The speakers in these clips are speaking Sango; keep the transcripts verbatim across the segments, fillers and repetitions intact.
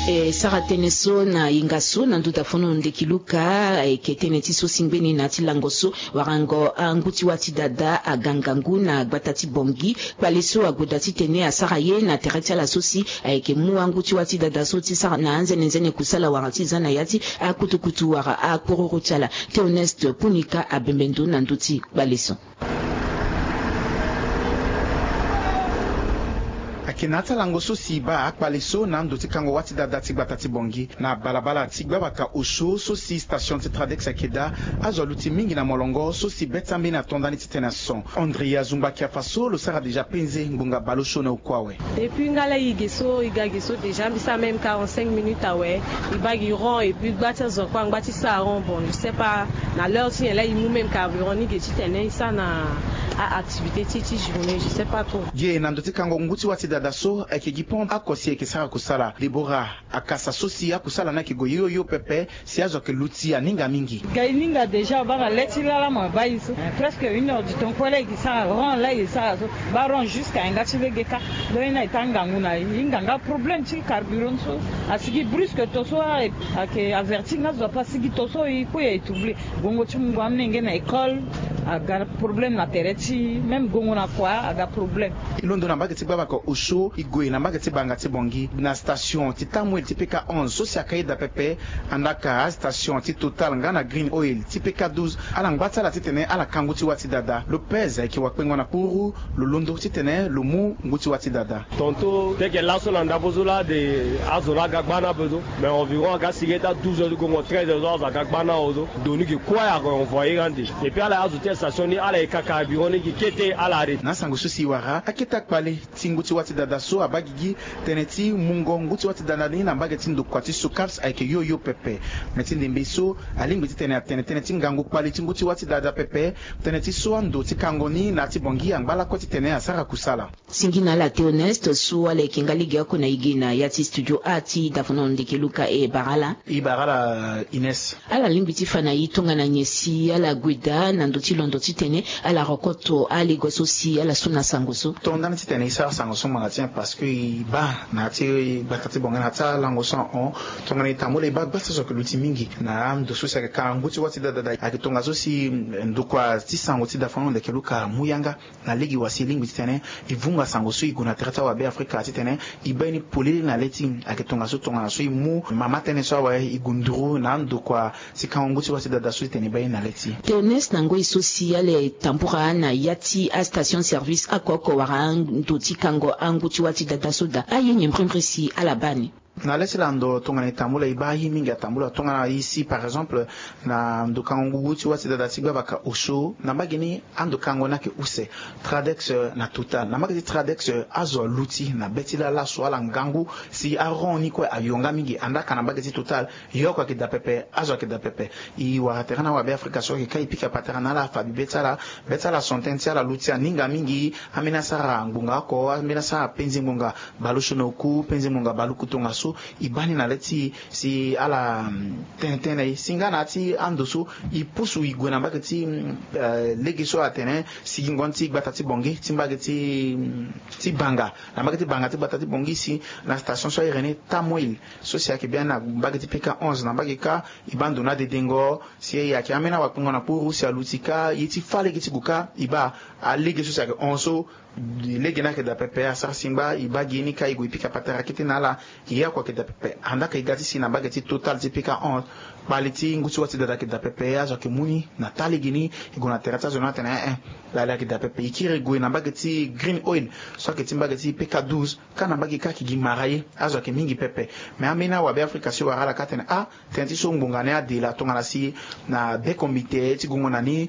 E sara tënë so na hinga so na ndö dafono ndeki Luka, e yeke tënë ti so si ngbeni na ya ti lango so warango angu ti wâ ti dada aga ngangu na gbata ti Bangui. Kpale so ague daa titene asara ye na tere ti ala so si ayeke mu angu ti wâ ti dada so ti sara na anzene nzene kusala wala ti za na ya ti akutukutu wala akpororo ti ala. Théoneste Punika abembe ndo na ndö ti kpale so. Ayeke na ya ti alango so si e baa akpale so na ando ti kango wâ ti dada ti gbata ti Bangui na balabala ti gbabaka osio so si station ti Tradex ayeke daa. Azo aluti mingi na molongo so si be ti ambeni ato ndani titene ason. André Azungba Kiafa so lo sara déjà penze ngbonga baleosio na oku awe. Depuis nga la e ge so e ga ge so déjà mbi sara même quarante-cinq minutes awe. E baa gi rond et puis gba ti azo kue angba ti sara rond, bon je sais pas na l'heure ti nyen la e mu même carburant ni ge titene e sara na a activité ti e ti journée, je sais pas trop. Ge na ndo ti kango ngu ti wâ ti dada so ayeke gi pont oko si ayeke sara kusala. Deborah Akasa so si akusala ni ayeke gue yoyo pepe si azo ayeke luti aninga mingi. Ga e ninga déjà baa na le ti lala mo baa e so presque une heure du temps kue la e gi sara rond la e gi sara so. Baa rond jusqu'à yanga ti lege kâ. Donc e na e taa ngangu na e hinga nga problème ti carburant so asigi brusque to so ayeke averti nga zo ape asigi to so e kue e trouble. Gongo ti mungo amolenge na école aga problème na tere ti e, même gongo na kua aga problème. E londo na mbage ti gbabaka osio e gue na mbage ti banga ti Bangui na station ti Tamoil ti P K onze so si aka e daa pepe. Andaa ka astation ti Total nga na Green Oil ti P K douze ala ngba ti ala titene ala ka ngu ti wâ ti dada. Lopez ayeke wakpengo na kpuru. Lo londo titene lo mu ngu ti wâ ti dada. Tonton teke laso na ndambo so la de azo la aga gba na ape so. Mais environ aga sigi taa douze heures ti gongo treize heures so azo aga gba na awe so. Doni ge kue arenvoyer ande. Et puis ala azo ti station ni ala ye kaka bureau ni gi kete ala arrêter. Na asango so si e wara akete akpale ti ngu ti wâ ti dada so abaa gigi tënë ti mungo ngu ti wâ ti dada ni na mbage ti ndokua ti Socaps ayeke yoyo pepe. Me ti ndembe so alingbi titene atene tënë ti ngangu kpale ti ngu ti wâ ti dada pepe. Tënë ti so ando ti kango ni na ya ti Bangui angba lakue titene asara kusala. Singi na ala Théoneste so ala yeke nga lege oko na e ge na ya ti studio a ti dafono ndeke Luka e bara ala. E bara ala Ines. Ala lingbi ti fa na e tongana nyen si ala gue daa na ndö ti londo titene ala rokoto alego so si ala su na sango so. Tongana titene e sara sango so ngbanga ti nyen parce que e baa na ya ti gbata ti Bangui na ya ti alango so ahon. Tongana e tambula e baa gbata so ayeke luti mingi na ando so si ayeke ka ngu ti wâ ti dada ayeke tongaso si ndokua ti sango ti dafono ndeke Luka amu yanga. Na lege wa si e lingbi titene e vunga sango so e gue na tere ti awabe Afrika titene e baa ye ni polele na le ti e. Ayeke tongaso tongana so e mu mama tënë so awe e gue nduru na andokua ti kango ngu ti wâ ti dada so titene e baa ye ni na le ti e. Théoneste na ngoi so si ala tambura na ya ti astation service oko oko wala ando ti kango angu ti wâ ti dada so daa aye nyen mbrimbri si ala baa ni. Na le ti lando tongana e tambula e baa aye mingi atambula tongana e si par exemple na ndo kango ngu ti wâ ti dada ti gbabaka osio na mbage ni ando kango ni ayeke use Tradex na Total. Na mbage ti Tradex azo aluti na be ti lala so ala ngangu si arond ni kue ayo nga mingi andaa ka na mbage ti Total. Ye oko ayeke daa pepe azo ayeke daa pepe. E wara tere na awabe Afrika so ayeke ka e pika patara na ala afa bi be ti ala. Be ti ala son tënë ti ala luti aninga mingi. Ambeni asara ngbonga oko ambeni asara penze ngbonga baleosio na oku penze ngbonga baluku tongaso. E baa ni na le ti e si ala tene tënë na e si nga na ya ti ando so e pusu e gue na mbage ti lege so atene sigingo ni ti gbata ti Bangui ti mbage ti ti banga na mbage ti banga ti gbata ti Bangui si na station so airi ni Tamoil so si ayeke biani na mbage ti P K onze na mbage kâ. E baa ndo ni adedengo si e yeke ambeni awakpengo na kpuru si aluti kâ ye ti fâ lege ti gue kâ e baa alege so si ayeke hon so. Lege ni ayeke daa pepe asara singba e baa gi ye ni kâ e gue e pika patara kete na ala. Ye oko ayeke daa pepe andaa ka e ga ti si na mbage ti Total ti P K onze kpale ti ngu ti wâ ti dada ayeke daa pepe azo ayeke mu ni na taa lege ni. E gue na tere ti azo ni atene eh eh lali ayeke daa pepe e kiri e gue na mbage ti Green Oil so ayeke ti mbage ti P K douze. Kâ na mbage kâ ayeke gi mara ye azo ayeke mingi pepe. Me ambeni awabe Afrika si e wara ala kâ atene ah tënë ti so ngbonga ni ade laa tongana si na beko mbite ti gongo na ni.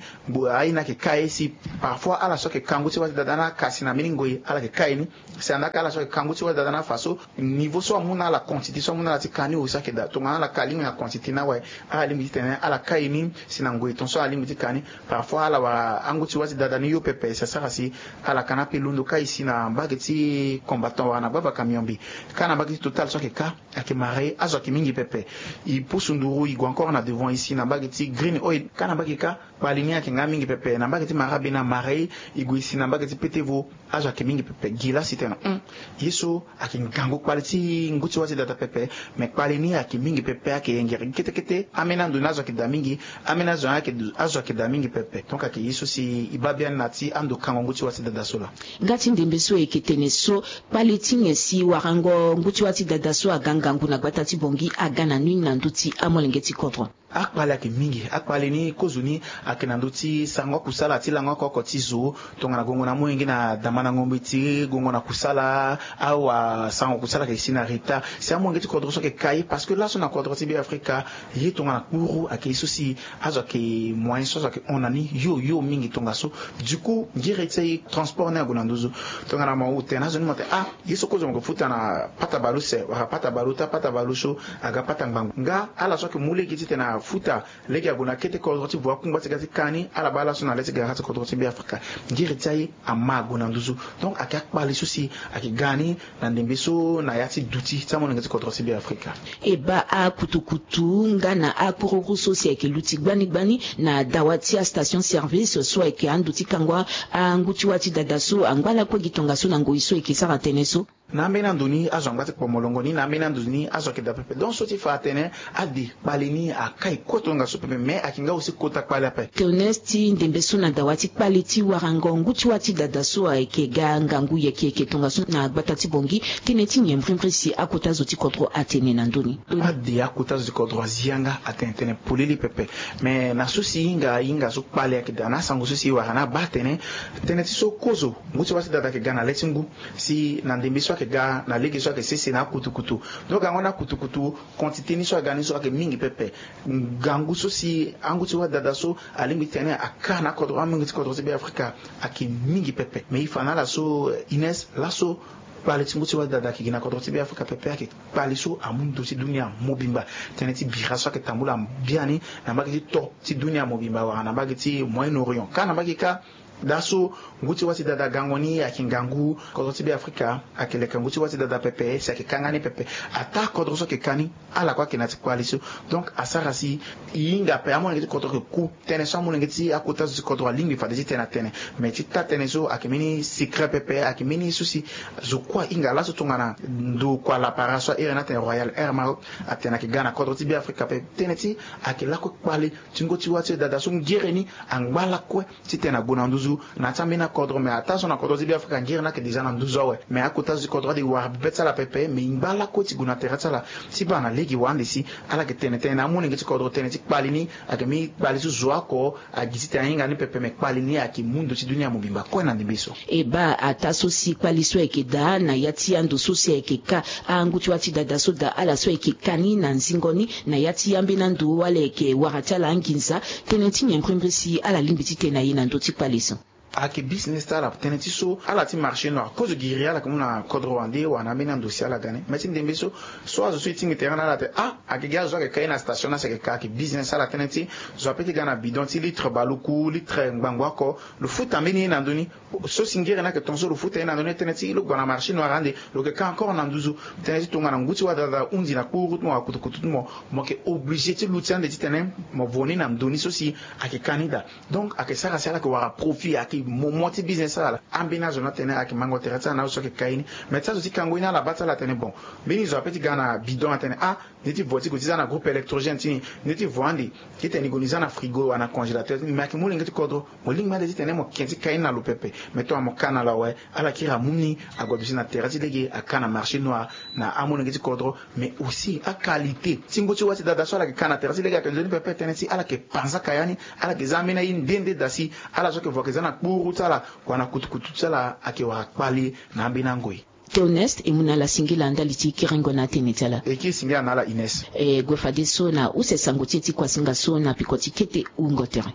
Aye ni ayeke ka ye si parfois ala so ayeke ka ngu ti wâ ti dada ni aka si na mbeni ngoi ala yeke ka ye ni. Si andaa ka ala so ayeke ka ngu ti wâ ti dada ni afa so niveau so amu na ala quantité so amu na ala ti ka ni aussi ayeke daa tongana ala ka lingbi na quantité ni awe. Alingbi ti tene ala kai ni si na ngoi ton so alingbi ti ka ni. Parfois ala wara angu ti wâ ti dada ni yo pepe si asara si ala ka ni ape londo kai si na mbage ti combattant wala na gbava camion mbi. Ka na mbage ti Total so ayeke ka, ayeke mara e, azo ayeke mingi pepe. E pusu nduru e gue encore na devant e si na mbage ti Green Oil, ka na mbage ka. Kpali ni ayeke nga mingi pepe na mbage ti Mara Bena, mara e, e gue e si na mbage ti Petevo. Azo ayeke mingi pepe. Gi la si tene, hmm, ye so ayeke ngangu kpali ti ngu ti wâ ti dada pepe. Me kpali ni ayeke mingi pepe, ayeke yengere kete kete. Ambeni ando ni azo ayeke daa mingi. Ambeni azo ni ayeke, azo ayeke daa mingi pepe. Donc ayeke ye so si e baa biani na ti ando kango ngu ti wâ ti dada so laa. Nga ti ndembe so e yeke tene so, kpali ti nyen si warango ngu ti wâ ti dada so aga ngangu na gbata ti Bangui aga na ni na ndö ti amolenge ti kodro? Akpali ayeke mingi. Akpali ni kozo ni ayeke na ndö ti sarango akusala ti lango oko oko ti zo. Tongana gongo na amolenge na damandango mbeti, gongo na kusala, awa sarango kusala ayeke si na retard. Si amolenge ti kodro so ayeke ka ye, parce que laso na kodro ti Be Afrika, ye tongana kpuru ayeke ye so si azo ayeke moyen so azo ayeke hon na ni yo yo mingi tongaso. Du coup ngere ti aye transport ni ague na nduzu. Tongana mo tene na azo ni mo tene ah, ye so kozo mo yeke futa na pata bale use wala pata bale ota, pata bale osio, aga pata ngbangbo. Nga ala so ayeke mu lege titene afuta lege ague na kete kodro ti vo akungba ti ga ti ka ni, ala baa laso na le ti gara ti kodro ti Be Afrika. Ngere ti aye ama ague na nduzu. Donc ayeke akpali so si ayeke ga ni na ndembe so na ya ti duti ti amolenge ti kodro ti Be Afrika. E baa akutukutu nga na akpururu so si ayeke luti gbani gbani na dawa ti astation service so ayeke ando ti kangua angu ti wâ ti dada so angba lakue gi tongaso na ngoi so e yeke sara tënë so. Na ambeni ando ni azo angba ti kpo molongo ni, na ambeni ando ni azo ayeke daa pepe. Donc so ti fa atene ade kpali ni akai kue tongaso pepe, me ayeke nga aussi kota kpali ape. Théoneste, ti ndembe so na dawa ti kpali ti warango ngu ti wâ ti dada so ayeke ga ngangu yeke yeke tongaso na gbata ti Bangui, tënë ti nyen mbrimbri si akota zo ti kodro atene na ndö ni? Ade akota zo ti kodro azi yanga atene tënë polele pepe. Me na so si e hinga, e hinga so kpali ayeke daa na asango so si e wara ni abaa atene, tënë ti so kozo ngu ti wâ ti dada ayeke ga na le ti ngu, si na ndembe so ayeke ga na lege so ayeke sese na akutukutu. Donc gango ni akutukutu, quantité ni so aga ni so ayeke mingi pepe. Ngangu so si angu ti wâ ti dada so alingbi ti tene aka na akodro, amolenge ti kodro ti Be Afrika ayeke mingi pepe. Me e fa na ala so, eh, Ines, laso kpali ti ngu ti wâ ti dada ayeke gi na kodro ti Be Afrika pepe ayeke kpali so amu ndo ti dunia mobimba. Tënë ti bira so ayeke tambula biani na mbage ti to ti dunia mobimba wala na mbage ti Moyen-Orient. Ka na mbage ka, daa so ngu ti wâ ti dada gango ni ayeke ngangu, kodro ti Be Afrika ayeke leke ngu ti wâ ti dada pepe si ayeke ka nga ni pepe. Ataa kodro so ayeke ka ni, ala kue ayeke na ya ti kpali so. Donc asara si e hinga ape, amolenge ti kodro ayeke ku. Tënë so amolenge ti akota zo ti kodro alingbi fade ti tene atene. Me ti taa tënë so ayeke mbeni secret pepe, ayeke mbeni so si zo kue ahinga laso tongana ndo kua lapara so a iri ni atene Royal Air Maroc atene ayeke ga na kodro ti Be Afrika pepe. Tënë ti ayeke lakue kpali ti ngu ti wâ ti dada so ngere ni angba lakue titene ague na nduzu na ya ti ambeni akodro. Me ataa so na kodro ti Be Afrika ngere ni ayeke déjà na nduzu awe. Me akota zo ti kodro ade wara be ti ala pepe, me e ngba lakue ti gue na tere ti ala. Ti baa na lege wande si ala yeke tene tënë na amolenge ti kodro tënë ti kpali ni ayeke mbeni kpali so zo oko agi titene ahinga ni pepe, me kpali ni ayeke mu ndo ti dunia mobimba kue na ndembe so. E baa ataa so si kpali so ayeke daa na ya ti ando so si ayeke ka angu ti wâ ti dada so daa ala so ayeke ka ni na nzingo ni na ya ti ambeni ando wala ayeke wara ti ala anginza, tënë ti nyen mbrimbri si ala lingbi ti tene na e na ndö ti kpali so? Ayeke business ti ala, tënë ti so ala ti marché noir, kozo giri ala yeke mu na kodro wande wala na ambeni ando si ala ga ni. Me ti ndembe so, so azo so e tingbi tere na ala atene ah, ayeke gi azo so ayeke ka ye na station ni asi ayeke ka, ayeke business ti ala. Tënë ti zo ape ti ga na bidon ti litre baluku, litre ngbangbo oko, lo futa mbeni ye na ndö ni. So si ngere ni ayeke ton so lo futa ye na ndö ni, tënë ti lo gue na marché noir ande, lo yeke ka encore na nduzu. Tënë ti tongana ngu ti wâ dada ahunzi na kpuru ti mo wala kutukutu ti mo, mo yeke obligé ti luti ande titene mo vo ni na ndo ni so si ayeke ka ni daa. Donc ayeke sara si ala yeke wara profit, ayeke mo mo ti business ti ala laa. Ambeni azo ni atene ayeke mango tere ti ala na azo so ayeke ka ye ni. Me ti azo ti kango ye ni ala baa ti ala atene bon, mbeni zo ape ti ga na bidon atene ah, Ndeti vo ti gue ti za na groupe électrogène ti ni, ndeti vo ande titene e gue ni za na frigo wala na congélateur ti ni. Me ayeke molenge ti kodro, mo lingbi ande titene mo ke ti ka ye ni na lo pepe. Me tongana mo ka na lo awe, ala kiri amu ni ague aduti na tere ti lege, aka na marché noir na amolenge ti kodro. Mais aussi aqualité ti ngu ti wâ ti dada so ala yeke ka na tere ti lege ayeke nzoni pepe. Tënë ti ala yeke panzaka ya ni, ala yeke za ambeni aye nde nde daa si ala so ayeke vo ayeke za na kpuru ti ala wala na kutukutu ti ala ayeke wara kpali na ambeni angoi. Théoneste, e mu na ala singila ndali ti kerengo na atene ti ala. E kiri singila na ala Ines. E gue fadeso na use sango ti e ti kuasinga so na peko ti kete wungo tere.